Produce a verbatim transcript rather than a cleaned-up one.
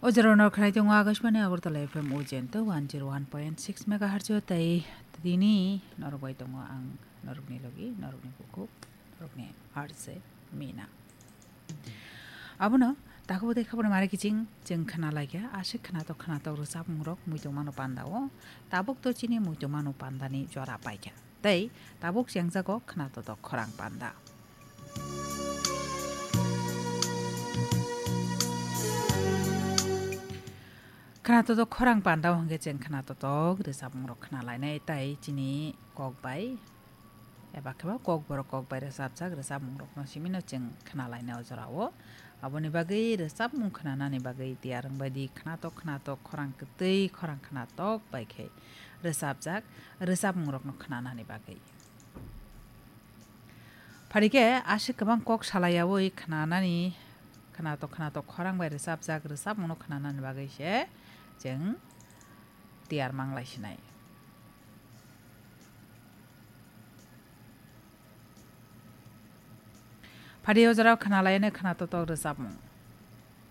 O jora no khnai tongo Akashbani Agartala F M Ujento one zero one point six megahertz o, tei tini norok bai tongo ang norokni logi, norokni bukhuk, norokni R J Mina. Abono takhuk tei khabor mare kiching chwng khna laikha, aswk khnatok khnatok rwchapmung rok muitu mano panda o, tabuk to chini muitu mano panda ni jora paikha. Tei tabuk chengjago khna totok khorang panda. Khna totok khorang panda hwnkhe chwng khna totok rwchapmung rok khna lainai, tei chini kok bai eba khe ba kok borok kok bai rwchapjak rwchapmung rokno simi no chwng khna lainai o jora o. Aboni bagwi rwchapmung khnanani bagwi tiyar wng bai di, khnatok khnatok khorang kwtwi khorang khnatok bai khe rwchapjak rwchapmung rokno khnanani bagwi. Phari khe aswk kwbang kok salai yaui khnanani, khnatok khnatok khorang bai rwchapjak rwchapmung no khnanani bagwi se chwng tiyar manglai sinai. Phari o jora khna lainai khna totok rwchapmung.